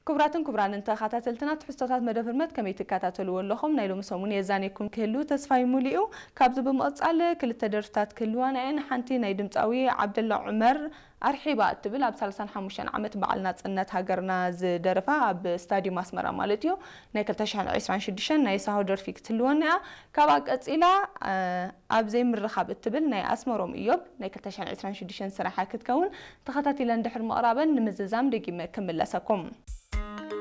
ክቡራትን ክቡራንን ተኸታተልትና፣ ትሕዝቶታት መደብ ህርመት ከመይ ትከታተልዎ ኣለኹም? ናይ ሎሚ ሰሙን የዛንየኩም ክህሉ ተስፋይ ሙሉ እዩ። ካብዚ ብምቕጻል ክልተ ደርፍታት ክህልዋና እየን። ሓንቲ ናይ ድምጻዊ ዓብደላ ዑመር ኣርሒባ እትብል ኣብ ሰላሳን ሓሙሽተን ዓመት በዓል ናጽነት ሃገርና ዝደረፋ ኣብ ስታዲየም ኣስመራ ማለት እዩ ናይ ክልተ ሽሕን ዕስራን ሽዱሽተን ናይ ሳሆ ደርፊ ክትህልወና እያ። ካብኣ ቀጺላ ኣብ ዘይምርኻብ እትብል ናይ ኣስመሮም እዮብ ናይ ክልተ ሽሕን ዕስራን ሽዱሽተን ስራሓ ክትከውን ተኸታቲለን ድሕሪ ምቕራበን ንምዝዛም ደጊመ ክምለሰኩም።